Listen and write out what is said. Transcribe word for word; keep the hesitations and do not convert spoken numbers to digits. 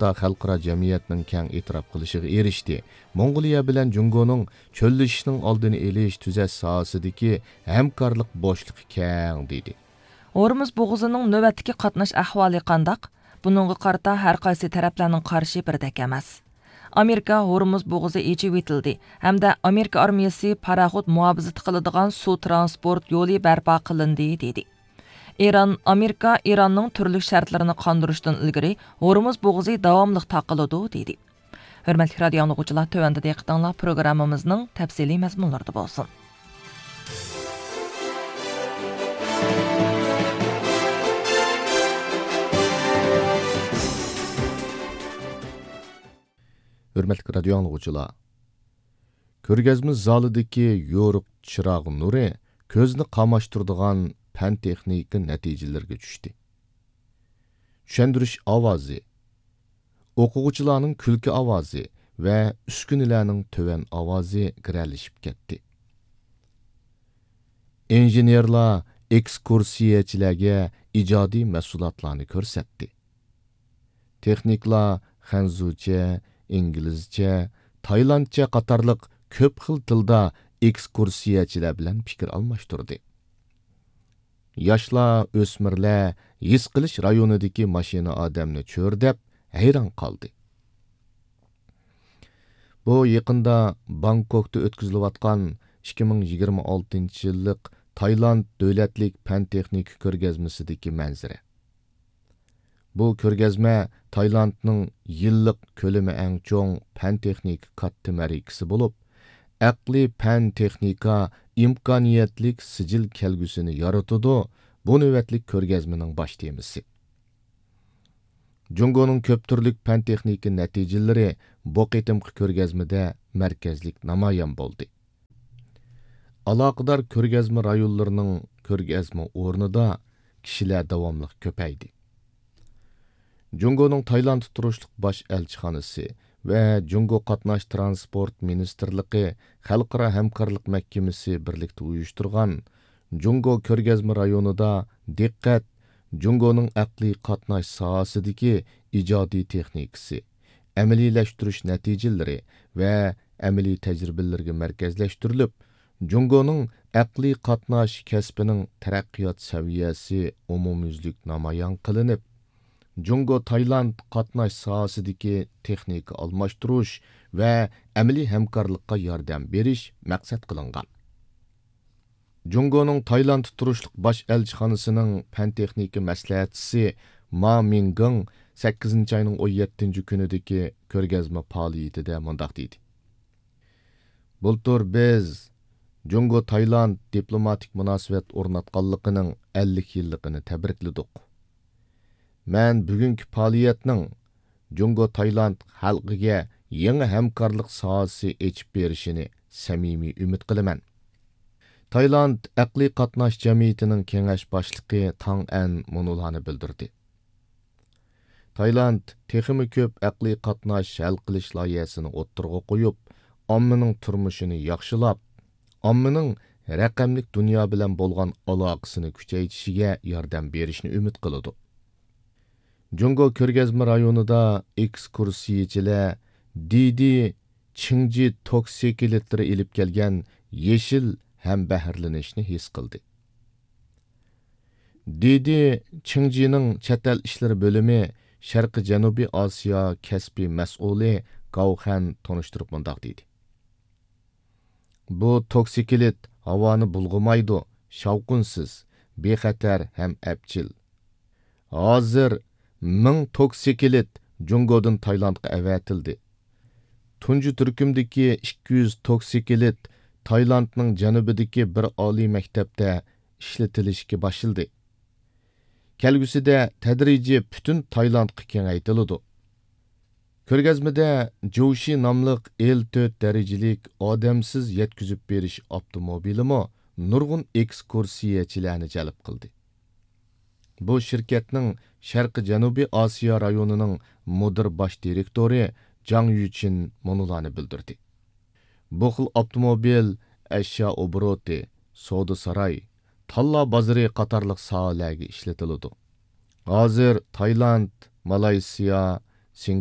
ھەتتا خەلقئارا جەمئىيەتنىڭ كەڭ ئېتىراپ قىلىشىغا ئېرىشتى. موڭغۇلىيە بىلەن جۇڭگونىڭ چۆللىشىشنىڭ ئالدىنى ئېلىش، تۈزەش ساھەسىدىكى ھەمكارلىق بوشلۇقى كەڭ، دېدى. ھورمۇز بوغۇزىنىڭ نۆۋەتتىكى قاتناش ئەھۋالى قانداق؟ بۇنىڭغا قارىتا ھەر قايسى تەرەپلەرنىڭ قارىشى بىردەك ئەمەس. ئامېرىكا ھورمۇز بوغۇزى ئېچىۋېتىلدى ھەمدە ئامېرىكا ئارمىيەسى پاراخوت مۇھاپىزىتى قىلىدىغان سۇ ترانسپورت يولى بەرپا قىلىندى، دېدى. ئىران، ئامېرىكا ئىراننىڭ تۈرلۈك شەرتلىرىنى قاندۇرۇشتىن ئىلگىرى ھورمۇز بوغۇزى داۋاملىق تاقىلىدۇ، دېدى. ھۆرمەتلىك رادىيو ئاڭلىغۇچىلار، تۆۋەندە دىققىتىڭلار پروگراممىمىزنىڭ تەپسىلىي مەزمۇنلىرىدا بولسۇن. ھۆرمەتلىك رادىيو ئاڭلىغۇچىلار، كۆرگەزمە زالىدىكى يورۇق چىراغ نۇرى كۆزنى قاماشتۇرىدىغان پەن تېخنىكا نەتىجىلىرىگە چۈشتى. چۈشەندۈرۈش ئاۋازى، ئوقۇغۇچىلارنىڭ كۈلكە ئاۋازى ۋە ئۈسكۈنىلەرنىڭ تۆۋەن ئاۋازى گىرەلىشىپ كەتتى. ئىنژېنېرلار ئېكسكۇرسىيەچىلەرگە ئىجادىي مەھسۇلاتلارنى كۆرسەتتى. تېخنىكلار خەنزۇچە، ئىنگلىزچە، تايلاندچە قاتارلىق كۆپ خىل تىلدا ئېكسكۇرسىيەچىلەر بىلەن پىكىر ئالماشتۇردى. ياشلار، ئۆسمۈرلەر ھېس قىلىش رايونىدىكى ماشىنا ئادەمنى چۆرىدەپ ھەيران قالدى. بۇ يېقىندا بانكوكتا ئۆتكۈزۈلۈۋاتقان ئىككى مىڭ يىگىرمە ئالتىنچى يىللىق تايلاند دۆلەتلىك پەن تېخنىكا كۆرگەزمىسىدىكى مەنزىرە. بۇ كۆرگەزمە تايلاندنىڭ يىللىق كۆلىمى ئەڭ چوڭ پەن تېخنىكا كاتتا مەرىكىسى بولۇپ، ئەقلىي پەن تېخنىكا ئىمكانىيەتلىك سىجىل كەلگۈسىنى يارىتىدۇ، بۇ نۆۋەتلىك كۆرگەزمىنىڭ باش تېمىسى. جۇڭگونىڭ كۆپ تۈرلۈك پەن تېخنىكا نەتىجىلىرى بۇ قېتىمقى كۆرگەزمىدە مەركەزلىك نامايان بولدى. ئالاقىدار كۆرگەزمە رايونلىرىنىڭ كۆرگەزمە ئورنىدا كىشىلەر داۋاملىق كۆپەيدى. جۇڭگونىڭ تايلاندتا تۇرۇشلۇق باش ئەلچىخانىسى ۋە جۇڭگو قاتناش ترانسپورت مىنىستىرلىقى خەلقئارا ھەمكارلىق مەھكىمىسى بىرلىكتە ئۇيۇشتۇرغان جۇڭگو كۆرگەزمە رايونىدا دىققەت جۇڭگونىڭ ئەقلىي قاتناش ساھەسىدىكى ئىجادىي تېخنىكىسى، ئەمەلىيلەشتۈرۈش نەتىجىلىرى ۋە ئەمەلىي تەجرىبىلىرىگە مەركەزلەشتۈرۈلۈپ، جۇڭگونىڭ ئەقلىي قاتناش كەسپىنىڭ تەرەققىيات سەۋىيەسى ئومۇميۈزلۈك نامايان قىلىنىپ، جۇڭگو تايلاند قاتناش ساھەسىدىكى تېخنىكا ئالماشتۇرۇش ۋە ئەمەلىي ھەمكارلىققا ياردەم بېرىش مەقسەت قىلىنغان. جۇڭگونىڭ تايلاندتا تۇرۇشلۇق باش ئەلچىخانىسىنىڭ پەن تېخنىكا مەسلىھەتچىسى ما مىڭگېڭ سەككىزىنچى ئاينىڭ ئون يەتتىنچى كۈنىدىكى كۆرگەزمە پائالىيىتىدە مۇنداق دېدى: بۇلتۇر بىز جۇڭگو تايلاند دىپلوماتىك مۇناسىۋەت ئورناتقانلىقىنىڭ ئەللىك يىللىقىنى تەبرىكلىدۇق. مەن بۈگۈنكى پائالىيەتنىڭ جۇڭگو تايلاند خەلقىگە يېڭى ھەمكارلىق ساھەسى ئېچىپ بېرىشىنى سەمىمىي ئۈمىد قىلىمەن. تايلاند ئەقلىي قاتناش جەمئىيىتىنىڭ كېڭەش باشلىقى تاڭ ئەن مۇنۇلارنى بىلدۈردى: تايلاند تېخىمۇ كۆپ ئەقلىي قاتناش ھەل قىلىش لايىھەسىنى ئوتتۇرىغا قويۇپ، ئاممىنىڭ تۇرمۇشىنى ياخشىلاپ، ئاممىنىڭ رەقەملىك دۇنيا بىلەن بولغان ئالاقىسىنى كۈچەيتىشىگە ياردەم بېرىشنى ئۈمىد قىلىدۇ. جۇڭگو كۆرگەزمە رايونىدا ئېكسكۇرسىيىچىلەر دىدى چىڭجى توكسىكلىتلىرى ئېلىپ كەلگەن يېشىل ھەمبەھىرلىنىشنى ھېس قىلدى. دىدى چىڭجىنىڭ چەت ئەل ئىشلىرى بۆلۈمى شەرقىي جەنۇبىي ئاسىيا كەسپىي مەسئۇلى گاۋخەن تونۇشتۇرۇپ مۇنداق دېدى: بۇ توكسىكلىت ھاۋانى بۇلغىمايدۇ، شاۋقۇنسىز، بىخەتەر ھەم ئەپچىل. ھازىر مىڭ توكسىكلىت جۇڭگودىن تايلاندقا ئەۋەتىلدى. تۇنجى تۈركۈمدىكى ئىككى يۈز توكسىكلىت تايلاندنىڭ جەنۇبىدىكى بىر ئالىي مەكتەپتە ئىشلىتىلىشكە باشلىدى. كەلگۈسىدە تەدرىجىي پۈتۈن تايلاندقا كېڭەيتىلىدۇ. كۆرگەزمىدە جوشى ناملىق ئېل تۆت دەرىجىلىك ئادەمسىز يەتكۈزۈپ بېرىش ئاپتوموبىلىمۇ نۇرغۇن ئېكسكۇرسىيەچىلەرنى جەلپ قىلدى. بۇ شىركەتنىڭ شەرقىي جەنۇبىي ئاسىيا رايونىنىڭ مۇدىر باش دىرېكتورى جاڭ يۈچىن مۇنۇلارنى بىلدۈردى: بۇ خىل ئاپتوموبىل ئەشيا ئوبوروتى، سودا ساراي، تاللا بازىرى قاتارلىق ساھەلەرگە ئىشلىتىلىدۇ. ھازىر تايلاند، مالايسىيا، سىنگاپور،